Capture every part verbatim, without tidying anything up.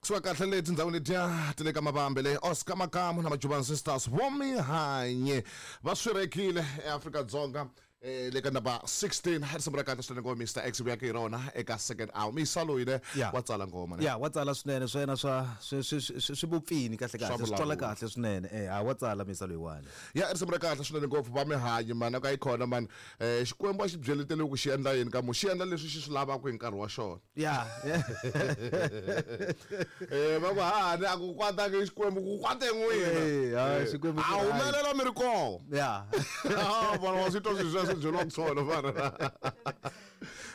Kusuka kahle le tindhawini letiya ti le ka mavambe le Oscar Makamu na Majuban Sisters Vomihanye va swi rekile eAfrika-Dzonga eh, le ka number sixteen. Risimu ra kahle swinene ngoma Mister X vuya ka hi rona eka second hour. Misa loyi ne Yeah. wa tsala ngoma ne. Ya, wa tsala swinene swa yena, swa swi swi swi swi vupfini kahle Swa kahle, swi twala vulavula. Kahle swinene. Eh, ha wa tsala misa loyiwani. Ya, risimu ra kahle swinene ngopfu va mihanyi mani ka yi khona mani. eh Xikwembu a xi byeletele ku xi endla yini ka mu xi endla leswi xi swi lavaka hi nkarhi wa xona. Ya. eh va ku hahani a ku kwatanga Xikwembu ku kwate n'wina. Eh, hayi, Xikwembu xi a right. Humelela mi ri kona. Ya. Ah, vona wa swi twa swilo sweswo byeriwaka swona vana,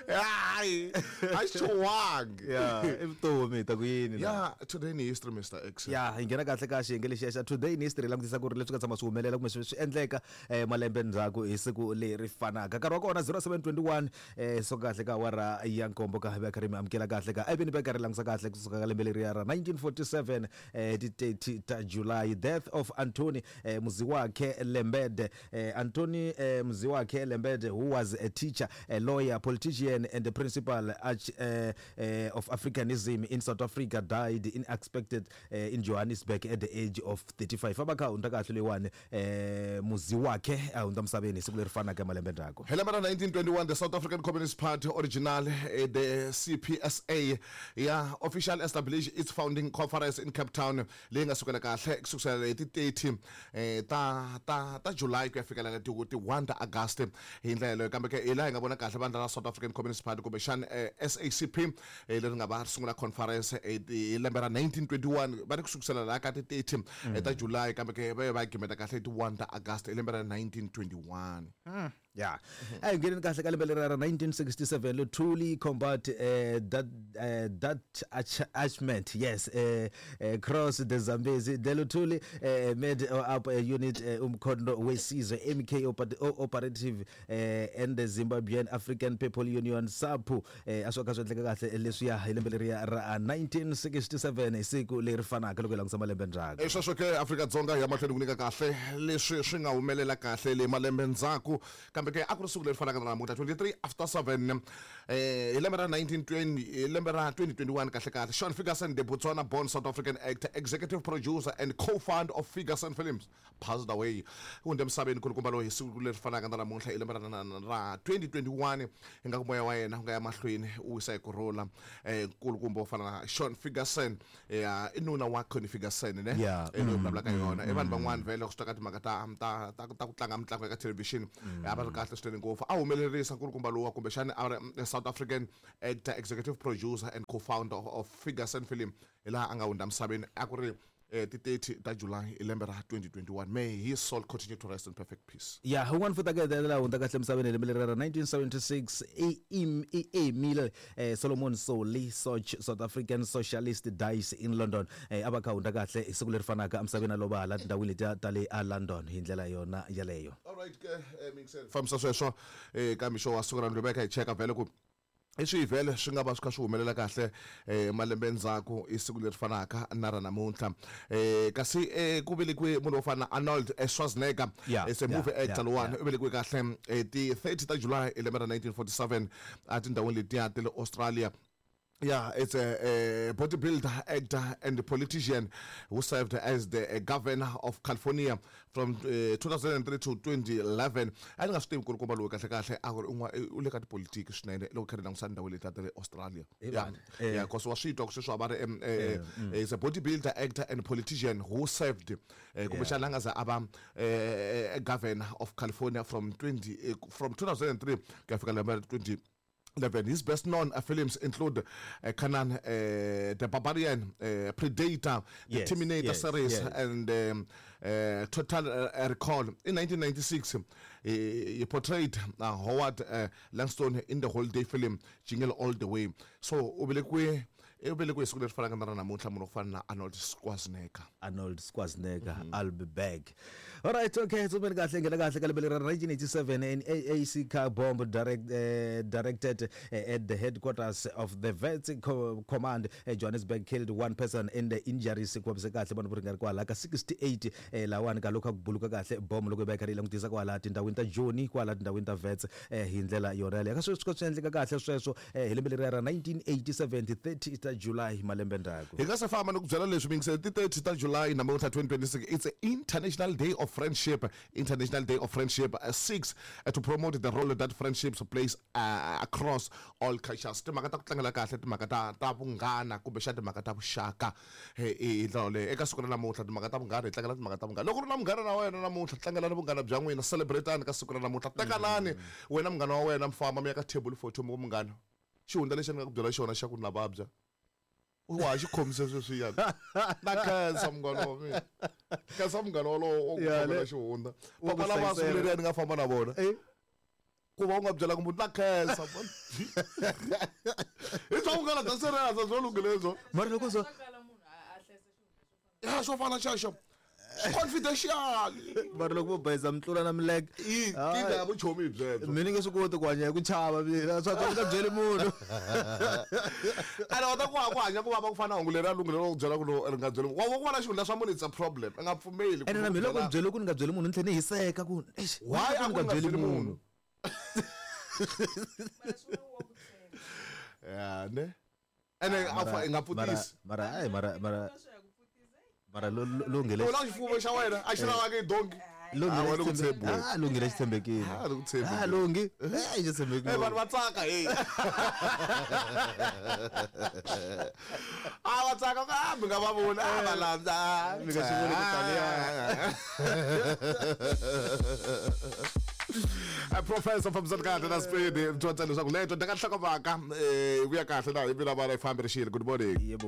hayi a xi chuwangi. Ya, i vutomi, hi ta ku yini la? Ya, today in history, Mister X. Ya, hi nghena kahle ka xiyenge lexiya xa today in history, langutisa ku ri leswi nga tshama swi humelela kumbe swi swi endleka eh, malembe ndzhaku hi siku leri fanaka. Nkarhi wa kona zero seven twenty-one, eh, so kahle ka awara ya nkombo ka va karhi mi amukela kahle ka evini va karhi langusa kahle kusuka ka lembe leriya ra nineteen forty-seven, eh, ti thirty ta July, death of Anthony eh, Muziwakhe Lembede. eh, Anthony eh, Muziwakhe Lembede, who was a teacher, a lawyer, politician and the principal arch, uh, uh, of Africanism in South Africa, died unexpected uh, in Johannesburg at the age of thirty-five. Abakha hundza kahle leyiwani, eh Muziwakhe a hundza misaveni hi siku leri fanaka malembe ndzhaku. Hi lembe ra nineteen twenty-one, the South African Communist Party, original eh, the C P S A, ya official established its founding conference in Cape Town, leyi nga sukela kahle ku sukusela hi ti thirty eh, ta ta ta July ku ya fikela ti ti one ta August hi ndlela yeleyo. Kambe ke hi laha hi nga vona kahle vandla ra South African Communist Party kumbexana eh, S A C P eh, leri nga va ri sungula conference eh, hi lembe ra nineteen twenty-one, va ri ku sukusela laha ka ti thirty eh, ta July, kambe ke va ye va gimeta kahle hi ti one ta August hi lembe ra nineteen twenty-one. Ya, a hi ngheneni kahle ka lembe leri ra nineteen sixty-seven. Luthuli combat uh, that uh, that attachment, yes, uh, uh, cross the Zambezi. The Luthuli uh, made up a unit, uh, Umkhonto weSizwe M K oper operative uh, and the Zimbabwean African People Union ZAPU. uh, a swo ka swi endleka kahle leswiya hi lembe leriya ra nineteen sixty-seven hi siku leri fanaka loko hi langutisa malembe ndzhaku. E sweswo ke Afrika-Dzonga ya mahlweni ku nyika kahle leswi swi nga humelela kahle le malembe ndzhaku. Kambe ke a ku ri siku leri fanaka na namuntlha, twenty-three after seven, eh hi lembe ra nineteen twenty, hi lembe ra twenty twenty-one kahle kahle, Sean Ferguson, the Botswana born South African actor, executive producer and co-founder of Ferguson Films, passed away. Hundze emisaveni kulukumba loyi hi siku leri fanaka na namuntlha hi lembe ra ra twenty twenty-one. Ingaku moya wa yena wu nga ya mahlweni u wisa hi kurhula. eh nkulukumba wo fana na Sean Ferguson, ya i nuna wa Connie Ferguson ne. Yeah. Eh, loyi vulavulaka yona i vanhu van'wani vhele loko swi ta ka timhaka ta ta ta ta ku tlanga mitlangu eka television a va ri kahle swinene ngopfu. A humelerisa nkulukumba lowa kumbexana a ri mm, South African actor, executive producer and co-founder of, of Ferguson Film, hi laha a nga hundza misaveni a ku ri eh, ti thirty ta July hi lembe ra twenty twenty-one. May his soul continue to rest in perfect peace. Ya, un'wana futhi ake la hundza kahle emisaveni hi lembe leri ra nineteen seventy-six, i i Emile eh, Solomon Solly Soch, South African socialist, dies in London. eh, a va kha hundza kahle hi siku leri fanaka emisaveni, a lova hala tindhawini letiya ta le a London hi ndlela yona yaleyo. Alright ke, eh, mixer fambisa sweswo eh, ka mixo wa siku ra ndlu veka hi cheka vhele ku i swihi vhele swi nga va swi kha swi humelela kahle eh, malembe ndzhaku i siku leri fanaka na ra namuntlha. eh, kasi eh, ku velekiwe munhu wo fana na Arnold eh, Schwarzenegger. Yeah, Is a movie yeah, actor yeah, lowani. yeah. U velekiwe kahle eh, ti thirty ta July hi lembe ra nineteen forty-seven a tindhawini letiya ta le Australia. Yeah, it's a, a bodybuilder, actor, and politician who served as the uh, governor of California from uh, two thousand three to twenty eleven. A ni nga swi tivi kulukumba loyi kahle kahle a ku ri un'wana u le ka tipolitiki swinene loko kha ri langusa ndhawu leti ta le Australia. Hi Yeah, vanhu, eh. yeah, cause wa swi twa ku sweswi va ri um, eh, is a bodybuilder, actor, and politician who served, eh, kumbexana a nga za a va eh, governor of California from twenty eh, from two thousand three ku ya fika lembe ra twenty eleven. His best known uh, films include uh, Conan uh, the Barbarian, uh, Predator, the Yes, Terminator yes, series, yes. and um, uh, Total uh, Recall. In nineteen ninety-six, he, he portrayed uh, Howard uh, Langston in the holiday film Jingle All the Way. So, u velekiwe u velekiwe siku leri fanaka na ra namuntlha munhu wo fana na Arnold Schwarzenegger. Arnold Schwarzenegger. I'll be back. All right, okay, tsumeni kahle ngena kahle ka lembe leri ra nineteen eighty-seven, an A A C car bomb direct, uh, directed uh, at the headquarters of the Wits Co Command uh, Johannesburg, killed one person in the injuries. Ku vavise kahle vanhu vo ringana kwala ka sixty-eight. eh, lawani ka loko ku buluka kahle bomb loko yi va yi karhi yi langutisa kwala tindhawini ta Joni, kwala tindhawini ta Wits, eh, hi ndlela yona yaleyo. Ka sweswi swi endleka kahle sweswo eh, hi lembe leri ra nineteen eighty-seven, ti thirty ta ta July malembe ndzhaku. Hi nga se famba ni ku byela leswi mingisele ti thirty ta July namuntlha twenty twenty-six it's an International Day of Friendship. International Day of Friendship uh, seeks uh, to promote the role that friendships plays uh, across all cultures. Timhaka ta ku tlangela kahle timhaka ta ta vunghana kumbe xa timhaka ta vuxaka hi ndlela leyi eka siku ra namuntlha timhaka ta vunghana hi tlangela timhaka ta vunghana. Loko ri na munghana na wena namuntlha tlangelani vunghana bya n'wina, celebrate-ani ka siku ra namuntlha, tekanani wena munghana wa wena mfamba mi ya ka table photo mi ku munghana xihundla lexi ni nga ku byela xona xa ku na vabya wa ha xi khomise sweswiyani na khensa munghana wa mina, khensa munghana wolowo wa ku khomela xihundla. Papa lava siku leriya ni nga famba na vona ku va u nga byelanga munhu na khensa hi bya vunghana bya serious byo lunghile byo mara loko so ya xo fana xexo confidential mara loko vo bayiza mitlula na milenge i kinga ya vuchomi byebyo mina nge swi koti ku hanya hi ku chava mina swa ku nga byeli munhu ana wa ta ku ku hanya ku vava ku fana hungu leri a lunghile ro ku byela ku ri nga byeli wa ku vona xihundla swa munhu it's a problem i nga pfumeli ene na mina loko ni byele ku ni nga byeli munhu ni tlhela ni hiseka ku eish why a ku ku nga byeli munhu ya ne ene a fa i nga pfutisi mara ai mara mara mara lunghile u la xifuwo xa wena a xi lavaka i donki ah lunghile xi tshembekile ah ku tshembekile ah lungi eh xi tshembekile eh vanhu va tsaka hey ah va tsaka ka mi nga va vona ah va landza mi nga xi voni ku taniya a professor fambisana kahle na Speed dyondza leswaku leto ndaka nhlokomhaka eh vuya kahle na hi mina vana yi fambirixile. Good morning. Yebo.